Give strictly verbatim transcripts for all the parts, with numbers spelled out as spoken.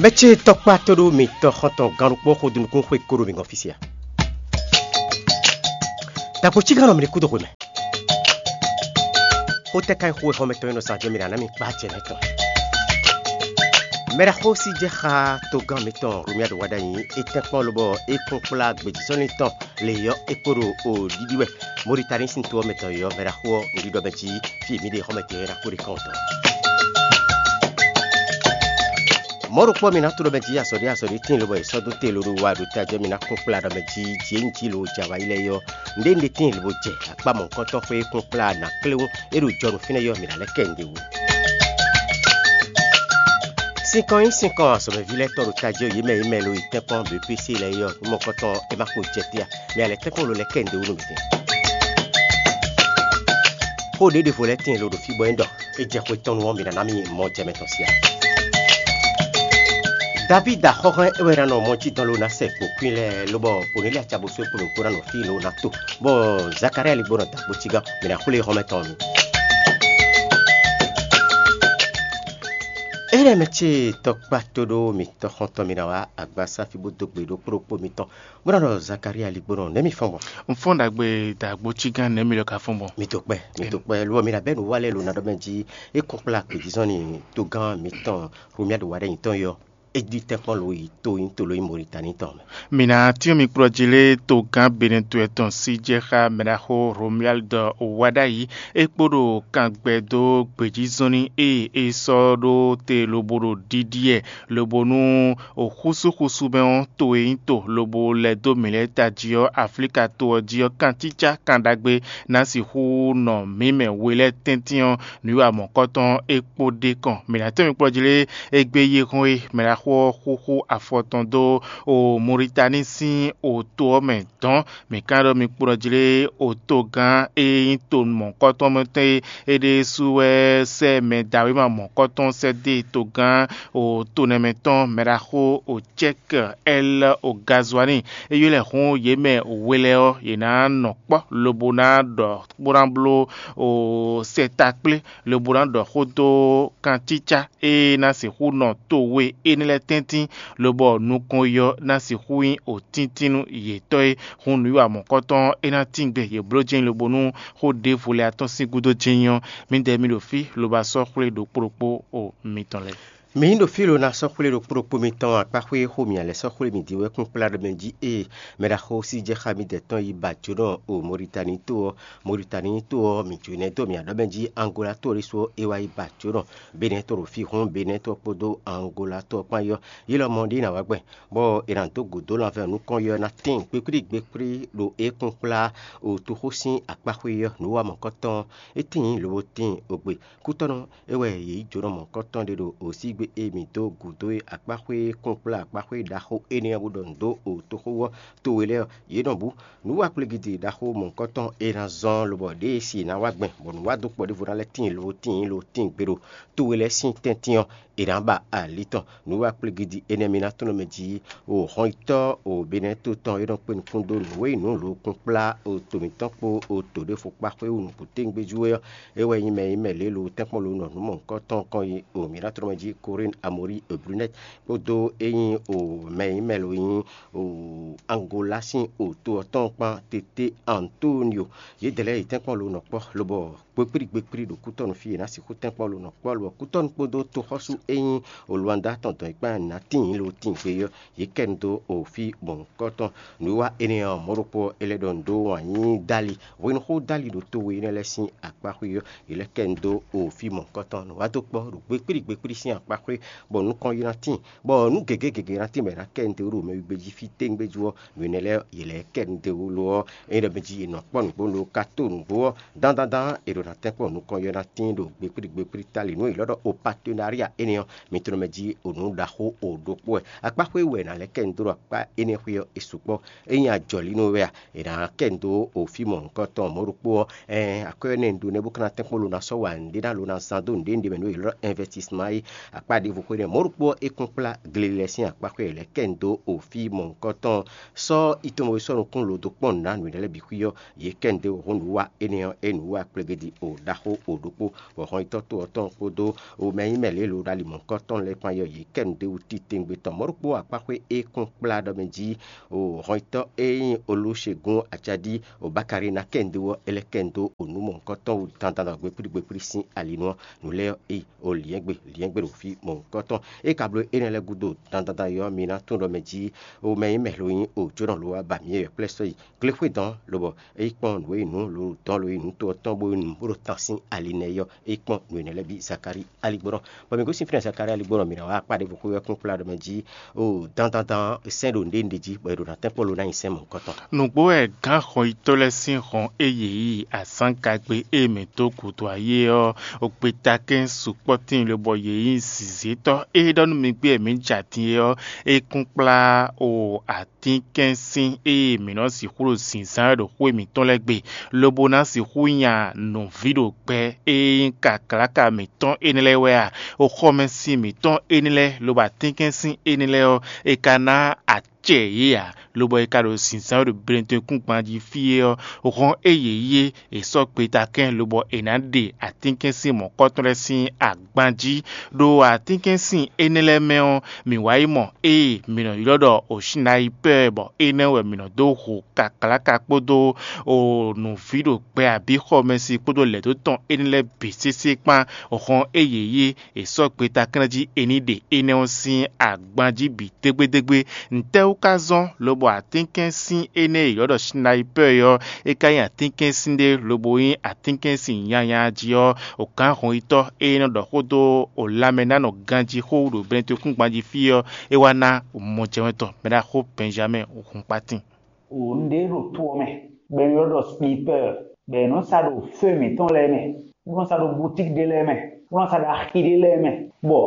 Mɛ ce tɔkpá tóɖó mitɔn xɔntɔn gannukpó xodunukún xwé kóɖó mi gɔn fí sia. Dagbo cígannɔ mi ní kúdo xwe mɛ. Xó tɛ́ ka nyí xó e xɔmɛ tɔn e nɔ sa jɛ mi ɖo aná mi kpá acɛ nɛ́ tɔn? Mɛɖaxó sí jɛ xá togán mitɔn Romuald Wadagni, é tɛ́nkpɔ́n lobɔ é kún kplá gbějízɔ́nlin tɔn lě ɔ́, é kpo ɖo o ɖiɖi wɛ. Moritani sín to ɔ́ mɛ tɔn e ɔ́, mɛɖaxó ɔ́, un ɖiɖɔ mɛ jí fí e mǐ ɖe xɔmɛ tɔn e ná kó ɖe kɔn tɔn. Mɔ̌ ɖokpó mi ná tló mɛ jí azɔ̌ ɖé azɔ̌ ɖé tíin lobɔ è sɔ́ dó te loɖo wa ɖo tají ɔ́, mi ná kún kplá ɖɔ mɛ jí jǐ e un jí lo jɛ awǎyi lɛ́ɛ é ɔ́, nǔɖé un ɖe tíin lobo jɛ akpá mɔ̌hunkɔtɔn xwé e kún kplá nǎ kléwún é ɖo jɔnu fínɛ́ é ɔ́, mǐ ná lɛ́ kɛ nǔɖé wú. Sinkɔn nyí sinkɔn azɔ̌mɛví lɛ́ɛ tɔn ɖo tají ɔ́, yě mɛ e mɛ lo yi tɛ́nkpɔ́n B P C lɛ́ɛ é ɔ́, nú mɔ̌hunkɔtɔn ɔ́, é má kpo jɛ te ǎ. Mɛ a lɛ́ tɛ́nkpɔ́n lo lɛ́ kɛ nǔɖé wú nú mǐtɛn. Xó ɖě ɖěvo lɛ́ɛ tíin lo ɖo fí bɔ é ɖɔ é jɛ xwe tɔn nu ɔ́, mi ná ná mì mɔ jɛ mɛ tɔn sia. Davída xɔ́hɛn é wɛ ná nɔ mɔ jí dɔn lo ná sɛ kpǒkwín lɛ́ɛ, lobɔ Kɔnɛ́li acabosú e kpo ɖokpó ná nɔ fí lo ná to, bɔ Zakalía ligbó nɔ da kpo cígán, mǐ ná xwlé xɔ́mɛ tɔn mi. Énɛ́ mɛ ce tɔkpá tóɖó mitɔn xɔntɔn mi ná wá agbasá fí bó dó gbe ɖokpó ɖokpó mitɔn, bó ná ɖɔ Zakalía ligbó nɔ nɛ̌ mi fɔ́n gbɔn? Un fɔ́n ɖagbe dagbo cígán nɛ̌ mi lɔ ka fɔ́n gbɔn? Mi to kpɛ, mi to kpɛ, lo ɔ́, mi ɖo abɛ́ nǔ wa lɛ́ɛ lo ná ɖɔ mɛ jí é kún kplá gbějízɔ́n ni togán mitɔn Romuald Wadagni tɔn é ɔ́, é ɖi tɛ́nkpɔ́n lo yi to nyí to lo nyí Moritani tɔn mɛ. Mǐ ná tyɔ́n mi kplɔ́ jí lé togán Benɛtɔ́ tɔn sí jɛ xá mɛɖaxó Romuald Wadagni, é kpo ɖo kangbɛ dó gbějízɔ́nní e é sɔ́ ɖó te lobo ɖo ɖiɖi ɛ, lobo nú xúsúxúsú mɛ ɔ́, to e nyí to lobo lɛ́ dó mǐ lɛ́ɛ tají ɔ́, Aflíka to ɔ́ jí ɔ́, kancícá kan ɖagbe ná sixú nɔ mǐ mɛ we lɛ́ɛ tɛ́ntin ɔ́, nǔwiwa mɔ̌kɔtɔn é kpo ɖ'é kɔn. Mǐ ná tɔ́n mi kplɔ́ jí lé égbé yí hɔn e mɛ ná xo ɔ́ xúxú afɔ tɔn dó o Muritáni sín o to ɔ́ mɛ dɔ̌n. Mǐ ka ɖɔ mi kplɔ́ jí lé o togán e nyí to mɔ̌kɔtɔn mɛ tɔn e é ɖésú wɛ sɛ́ mɛ dǎwéma mɔ̌kɔtɔn sɛ́ dó togán o to nɛmɛ tɔn mɛɖaxó o Cɛ́k Ɛl o Gazuani. É ylɔ́ ɛ hǔn yě mɛ we lɛ́ɛ ɔ́, yě ná nɔ kpɔ́ lobo ná ɖɔ bó ná bló o sɛtakplé lobo ná ɖɔ xó dó kancícá e ná sixú nɔ to we énɛ́ lɛ́ɛ tɛ́ntin, lobɔ nukɔn yi ɔ́ ná sixú nyí otíntín nú yětɔn e. Hǔn nǔwiwa mɔ̌kɔtɔn ɔ́, é ná tín gbe yě bló jɛ́n lobo nú xó ɖěvo lɛ́ɛ atɔ́n sín gúdo jɛ́n nyí ɔ́, mǐdɛɛ mi ɖo fí lobo asɔ́ xwlé ɖokpó ɖokpó o mitɔn lɛ́ɛ. Mǐ ɖo fí lo ná sɔ́ xwlé ɖokpó ɖokpó mitɔn akpáxwé e xó mǐ lɛ́ sɔ́ xwlé mǐ din wɛ kún kplá ɖɔ mɛ jí ée mɛ ɖaxó sí jɛ xá mǐdɛɛ tɔn yi ba jǒnɔ o Moritani to ɔ́. Moritani to ɔ́, mǐ jó nɛ́ dó mǐ aɖɔ́ mɛ jí Angola to ɖésú ɔ́, é wá yi ba jǒnɔ Benɛ́ to ɖo fí hɔn Benɛ́ to ɔ́ kpódó Angola to ɔ́ kpán yi ɔ́, yě lɔmɔ̌ ɖé ná wá gbɛn, bɔ è nǎ dó gǔdo lanvɛ́ nukɔn yi ɔ́ ná tíin kpékplí gbékplí ɖo é kún kplá o toxó sín akpáxwé ɔ́. Nǔ wa mɔ̌kɔtɔn ɔ́, é tíin lobo tíin ogbe. Kútɔ́nú é wɛ yě yi jǒnɔ mɔ̌kɔtɔn ɖé ɖo osígbe e mǐ dó gǔdo e akpáxwé kún kplá akpáxwé ɖaxó énɛ́ ɔ́ bó ɖɔ nǔ dó o toxó ɔ́ towe lɛ́ɛ ɔ́, yě nɔ bú. Nǔ wa kplégídi ɖaxó mɔ̌kɔtɔn e ná zɔ́n lobɔ ɖěe si è nǎ wa gbɛn bɔ nǔ wa dó kpɔ ɖěvo ná lɛ́ tíin lobo tíin lo tíin gbe ɖo towe lɛ́ɛ sín tɛ́ntin ɔ́, è nǎ ba ali tɔn. Nǔ wa kplégídi énɛ́ mi ná tlɔ́n mɛ jí o hɔnyitɔ́ o Benɛ́ to tɔn e nɔ kpé nukún dó nǔ e nyí nǔ lo kún kplá o to mǐtɔn kpó o to ɖěvo kpá xwé wú nǔgbó téŋgbéjú é ɔ́, é wɛ nyí mɛ e nyí mɛ lě lo tɛ́nkpɔ́n lo nɔ nǔ mɔ̌hunkɔtɔn kɔn yi o mǐ ná tlɔ́n mɛ jí Corinne Amory Brunet kpódó é nyí o mɛ e nyí mɛ lo nyí o Angola sín o to ɔ́ tɔn kpán Tete Antonio. Yědɛɛ lɛ́ɛ yi tɛ́nkpɔ́n lo nɔ kpɔ́ lobɔ gbekpíɖi gbekpíɖi ɖo kútɔ́nú fí e ná sixú tɛ́nkpɔ́n lo nɔ kpɔ́ lobɔ kútɔ́nú kpódó toxɔ́sú e nyí o Luanda tɔn dɔn yi kpán ná tíin lo tíin gbe ɔ́, yě kɛ nu dó o fí mɔ̌hunkɔtɔn. Nǔwiwa énɛ́ ɔ́, mɔ̌ ɖokpó ɔ́, é lɛ́ ɖɔ nǔ dó wǎn yí Dali. Hwenuxó Dali ɖo to we énɛ́ lɛ́ɛ sín akpáxwé ɔ́, yě lɛ́ kɛ nu dó o fí mɔ̌hunkɔtɔn. Nǔ wa dó kpɔ́ ɖo gbekpíɖi gbekpíɖi sín akpáxwé, bɔ nukɔn yi ná tíin, bɔ nǔ gěgé gěgé ná tíin bɔ è nǎ kɛ nu dó ɖo mɛ wígbé jí fí téŋgbé jú ɔ́, nǔ énɛ́ lɛ́ɛ yě lɛ́ kɛ nu dó lo ɔ́, é ɖɔ mɛ jí è nɔ kpɔ́ nǔgbó lo ka tó nǔgbó ɔ́, dandandan è ɖo ná tɛ́nkpɔ́n nukɔn yi ɔ́ ná tíin ɖo gbekpíɖi gbekpíɖi Tali. Nǔ e yě lɔ́ ɖɔ o partenariat énɛ́ ɔ́, mi tlɔ́n mɛ jí o nǔ ɖaxó o ɖokpó wɛ. Akpáxwé wɛ è nǎ lɛ́ kɛ nu dó ɖo akpá énɛ́ xwé ɔ́, é su kpɔ́. Ényí ajɔ̌línɔ wɛ a, è nǎ kɛ nu dó o fí mɔ̌hunkɔtɔn mɔ̌ ɖokpó ɔ́, ɛɛn akwɛ́ ɔ́ nɛ́ un ɖó nɛ́ bó ka ná tɛ́nkpɔ́n lo ná sɔ́ wa nǔɖé ná lo ná zán dó nǔɖé nǔɖé mɛ nú yě lɔ́ investissement é. Akpá ɖěvo xwé nɛ́ mɔ̌ ɖokpó ɔ́, é kún kplá gle lɛ́ɛ sín akpáxwé lɛ́ɛ kɛ nu dó o fí mɔ̌hunkɔtɔn. Sɔ́ yi tɔn mɔ yi sɔ́ nukún lo dó kpɔ́n nǔ ná nǔ énɛ́ lɛ́ɛ bǐ xwí ɔ́, yě kɛ nu dó hɔn nǔ wa énɛ́ ɔ́, é nǔ wa kplégédi O ɖaxó o ɖokpó, bɔ hɔnyitɔ́ to ɔ́ tɔn kpódó o mɛ nyí mɛ lě lo ɖo ali mɔ̌hunkɔtɔn lɛ́ɛ kpán yɔ yě kɛ nǔɖéwú titewungbe tɔn. Mɔ̌ ɖokpó akpáxwé e kún kplá ɖɔ mɛ jí o hɔnyitɔ́ e nyí Olúṣegún Acaɖí o Bakari ná kɛ nǔɖé ɔ́, é lɛ́ kɛ nǔ dó o nǔ mɔ̌hunkɔtɔn wú dandan ɖɔ gbekplí gbekplí sín ali nu ɔ́, nǔ lɛ́ɛ ɔ́, é o liɛ́ngbe liɛ́ngbe ɖo fí mɔ̌hunkɔtɔn. É ka bló énɛ́ lɛ́ɛ gúdo dandan yɔ mi ná tunwun ɖɔ mɛ jí o mɛ nyí mɛ lo nyí o jónɔ lo wá ba mǐ yɛ̌yɔ́ kplɛ́ sɔ́ yi glexwé dɔn, lobɔ é yi kpɔ́n nǔ e nǔ lo dɔn lo yi nǔ to ɔ́ tɔn bó nǔ bó ɖo tan sín ali nɛ́ yɔ. É yi kpɔ́n nǔ énɛ́ lɛ́ɛ bǐ Zakalíi aligbɔnɔ. Bɔ mǐ gosín fínɛ́ Zakalíi aligbɔnɔ mǐ ná wá akpá ɖěvo xwé wɛ kún kplá ɖɔ mɛ jí o dandan dan sɛ́n ɖo nǔɖé ɖě jí, bɔ è ɖo ná tɛ́nkpɔ́ lo ná nyi sɛ́n mɔ̌hunkɔtɔn. Nǔgbó wɛ gǎn xɔnyitɔ́ lɛ́ɛ sín hɔn e yě yi azǎngagbe e mǐ dó gǔdo ayé ɔ́, gbeta kɛ́n sukpɔ́ tíin lobɔ yě nyí zǐzétɔ́ e ɖɔ nú mi gbé wɛ mǐ jɛ atin é ɔ́, é kún kplá o atínkɛ́nsin e mǐ nɔ sixú ɖo zǐnzán wɛ ɖo xwé mǐtɔn lɛ́ɛ gbe, lobo ná sixú nya nǔví ɖo gbɛ e nyí kaklaka mǐtɔn énɛ́ lɛ́ɛ wɛ a? Oxɔmɛsin mǐtɔn énɛ́ lɛ́ɛ, lobo atínkɛ́nsin énɛ́ lɛ́ɛ ɔ́, è ka ná acɛ yě ǎ, lobɔ è ka ɖo zǐnzán wɛ ɖo Benetɔn-kúngban jí fí é ɔ́, hɔn e yě yi é, è sɔ́ gbeta kɛ́n lobɔ è nǎ ɖe atínkɛ́nsin mɔ̌kɔtɔn lɛ́ɛ sín agban jí. Ɖo atínkɛ́nsin énɛ́ lɛ́ɛ mɛ ɔ́, mǐ wá yi mɔ ée mǐ nɔ ylɔ́ ɖɔ Osinayipɛ́ɛ, bɔ énɛ́ wɛ mǐ nɔ dó hu kaklaka kpódó nǔví ɖo gbɛ abǐ xɔmɛsin kpódó lɛ̌ dó tɔn énɛ́ lɛ́ɛ bǐ sésé kpán. Hɔn e yě yi é, è sɔ́ gbeta kɛ́n jí è ní ɖe énɛ́ ɔ́ sín agban jí bǐ dégbédégbé. Ntɛ́wú ka zɔ́n lobɔ atínkɛ́nsin énɛ́ e è ylɔ́ ɖɔ Sinayipɛ́ɛ ɔ́, é ka nyí atínkɛ́nsin ɖé lobo nyí atínkɛ́nsin nyanya jí ɔ́, o gǎn hɔnyitɔ́ e nɔ ɖɔ xó dó o lanmɛnánɔ ganjí xó wú ɖo Benetɔn-kúngban jí fí ɔ́, é wá ná mɔjɛmɛ tɔn mɛɖaxó Bɛnjamɛ́ɛ hun kpátín. Wǒ un ɖe ɖo to ɔ́ mɛ, bɔ è nɔ ylɔ́ ɖɔ Snipɛ́ɛ, bɔ è nɔ sa ɖo fé mǐtɔn lɛ́ɛ mɛ, bó nɔ sa ɖo butíki ɖé lɛ́ɛ mɛ, bó nɔ sa ɖo axi ɖé lɛ́ɛ mɛ, bɔ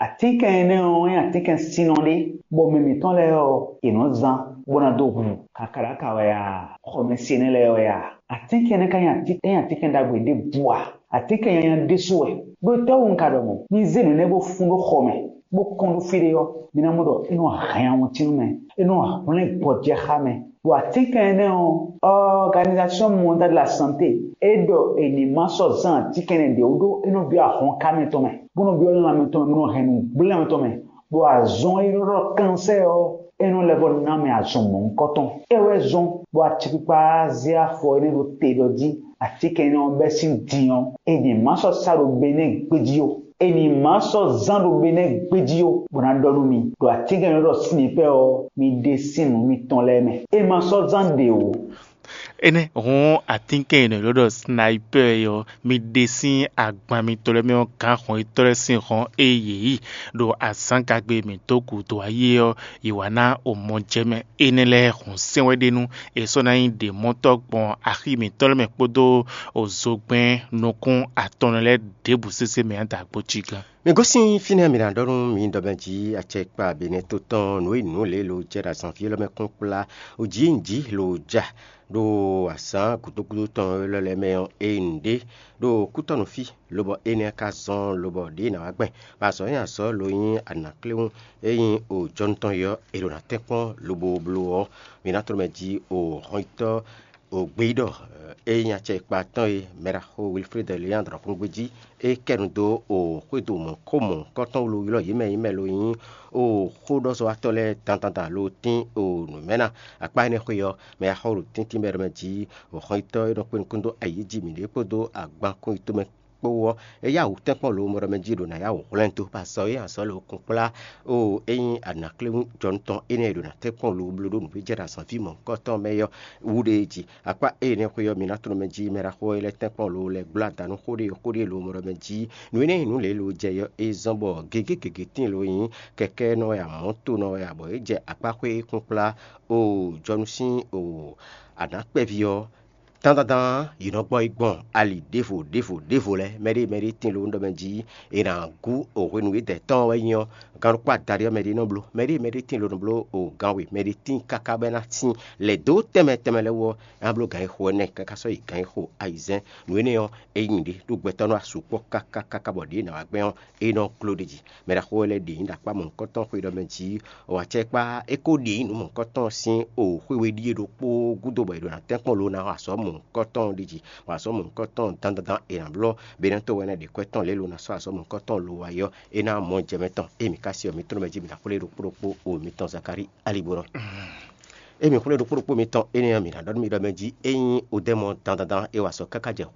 atínkɛn énɛ́ ɔ́ nyí atínkɛn sinnɔ ɖé, bɔ mɛ mǐtɔn lɛ́ɛ ɔ́, è nɔ zán bó ná dó hu. Kakaɖaka wɛ a? Xɔmɛsin énɛ́ lɛ́ɛ wɛ a? Atínkɛn énɛ́ ka nyí atínkɛn ɖagbe ɖěbǔ a? Atínkɛn nyanya ɖésú wɛ. Ɖó étɛ́wú un ka ɖɔ mɔ̌? Mi zé nǔ énɛ́ bó fún ɖó xɔ mɛ, bó kɔn ɖó fí ɖé ɔ́, mi ná mɔ ɖɔ é nɔ hɛn awɔntín nú mɛ, é nɔ hwlɛ́n gbɔjɛxá mɛ. Ɖo atínkɛn énɛ́ ɔ́, Organisation Mondiale de la Santé é ɖɔ è nǐ ma sɔ́ zán atínkɛn énɛ́ ɖě wú ɖó é nɔ byɔ́ ahɔnká mɛtɔn mɛ, bó nɔ byɔ́ lanmɛ tɔn mɛ, bó nɔ hɛn nǔgblɛ́ mɛtɔn mɛ, ɖo azɔn e nɔ ɖɔ kansɛ́ɛ ɔ́, é nɔ lɛ́ vɔ ná mɛ azɔn mɔ̌hunkɔtɔn. É wɛ zɔ́n bɔ acɛkpikpa zé afɔ énɛ́ ɖó te ɖɔ jí atínkɛn énɛ́ ɔ́ bɛ́ sín din ɔ́, è nǐ ma sɔ́ sa ɖo Benɛ́ɛ gbéjí ó. È nǐ ma sɔ́ zán ɖo Benɛ́ɛ gbéjí ó, bó ná ɖɔ nú mi ɖo atínkɛn e nɔ ɖɔ Sinipɛ́ɛ ɔ́, mi ɖe sín nǔ mitɔn lɛ́ɛ mɛ. È ma sɔ́ zán ɖě ó. Énɛ́ hɔn atínkɛn e nɔ ylɔ́ ɖɔ Sinayipɛ́ɛ ɔ́, mi ɖe sín agban mitɔn lɛ́ɛ mɛ ɔ́ gǎn hɔn yětɔn lɛ́ɛ sín hɔn e yě yi ɖo azǎngagbe e mǐ dó gǔdo ayé ɔ́, yi wǎ ná omɔjɛmɛ énɛ́ lɛ́ɛ hɔn sɛn wɛ ɖe nú è sɔ́ ná nyí ɖě mɔtɔ́ gbɔn axi mǐtɔn lɛ́ɛ mɛ kpódó ozogbɛ́n nukún atɔn lɛ́ɛ ɖěbǔ sésé mɛ ǎ da gbo cí gán. Mi gosín fínɛ́ mi ná ɖɔ nú mi ɖɔ mɛ jí acɛkpa Benɛ́ɛ to tɔn nǔ e nǔ lě lo jɛ ɖo azɔ̌ví élɔ́ mɛ kún kplá o jǐ nǔ jí lo ja ɖo azǎn gǔdo gúdo tɔn élɔ́ lɛ́ɛ mɛ ɔ́, ényí nǔɖé ɖo kútɔ́nú fí, lobɔ énɛ́ ka zɔ́n lobɔ ɖěe nǎ wá gbɛn, bɔ azɔ̌ nyi azɔ̌ lo nyí anǎkléwún e nyí o jɔnu tɔn é ɔ́, è ɖo ná tɛ́nkpɔ́n lobo bló ɔ́, mi ná tló mɛ jí o hɔnyitɔ́ o gbeyíɖɔ e nyí acɛkpa tɔn e mɛɖaxó Wilfred Léandre kún gbé jí, é kɛ nu dó o xwédo mɔ̌ xó mɔ̌hunkɔtɔn wú lo ylɔ́ yě mɛ nyí mɛ lo nyí o xóɖɔzɔ́watɔ́ lɛ́ɛ dandandan lo tín o nǔ mɛ ná. Akpá énɛ́ xwé ɔ́, mɛ e xɔ ɖo tɛ́ntin mɛ ɖɔ mɛ jí, o xɔnyitɔ́ e nɔ kpé nukún dó ayǐ jí mǐɖée kpódó agban kún yi tomɛ kpó ɔ́, é yá wǔ tɛ́nkpɔ́n lo mɔ ɖɔ mɛ jí ɖo nǎ yá wǔ hwlɛ́n dó, bɔ azɔ̌ e azɔ̌ lo kún kplá o é nyí anǎkléwún jɔnu tɔn énɛ́ e ɖo ná tɛ́nkpɔ́n lo bló ɖó nǔ e jɛ ɖo azɔ̌ví mɔ̌hunkɔtɔn mɛ ɔ́ wú ɖe jí. Akpá énɛ́ xwé ɔ́, mi ná tló mɛ jí mɛ ɖaxó e lɛ́ tɛ́nkpɔ́n lo lɛ́ gbló ada nú xó ɖé xó ɖé lo mɔ ɖɔ mɛ jí. Nǔ énɛ́ e nǔ lě lo jɛ ɔ́, é zɔ́n bɔ gěgé gěgé tíin lo nyí kɛkɛ́nɔ wɛ a, mɔ̌tonɔ wɛ a, bɔ é jɛ akpá xwé e kún kplá o jɔnu sín o anǎkpɛ́ví ɔ́, dandandan yě nɔ gbɔ yi gbɔn ali ɖěvo ɖěvo ɖěvo lɛ́ɛ. Mɛɖé mɛɖé tíin lo ɖɔ mɛ jí è nǎ gú o hwenu e dɛ̌ tɔn wɛ nyí ɔ́, gán ɖokpó adaɖé ɔ́ mɛɖé nɔ bló. Mɛɖé mɛɖé tíin lo nɔ bló o gán we, mɛɖé tíin káká bɔ é ná tíin lɛ̌ dó tɛnmɛ tɛnmɛ lɛ́ɛ wú ɔ́, é ná bló gǎn e xo ɛnɛ káká sɔ́ yi gǎn e xo ayizɛ́n. Nǔ énɛ́ ɔ́, é nyí nǔɖé ɖó gbɛtɔ́ nɔ wá sukpɔ́ káká káká bɔ ɖě ná wá gbɛn ɔ́, é nɔ gló ɖ'é jí. Mɛ ɖaxó lɛ́ɛ ɖe nyǐ ɖo akpá mɔ̌hunkɔtɔn xwe ɖɔ mɛ jí, o acɛkpá é ko ɖe nyǐ nǔ mɔ̌hunkɔtɔn sín o xwé we ɖíe ɖokpó gúdo bɔ è ɖo ná tɛ́nkpɔ́n lo ná xɔ azɔ̌ mɔ mɔ̌hunkɔtɔn ɖi jǐ, bɔ azɔ̌ mɔ̌hunkɔtɔn dandandan è nǎ blɔ́, be ná to wɛ ná ɖe kwɛ́ tɔn lě lo ná sɔ́ azɔ̌ mɔ̌hunkɔtɔn lo wá yɔ, é ná mɔ jɛ mɛ tɔn. Emi ka se ɔ́, mi tlɔ́n mɛ jí mi ná xwlé ɖokpó ɖokpó o mi tɔn Zakalíi Aligbonɔ. Emi xwlé ɖokpó ɖokpó mi tɔn énɛ́ ɔ́, mi ná ɖɔ nú mi ɖɔ mɛ jí é nyí odɛ́mɔ dandandan e wa sɔ́ káká jɛ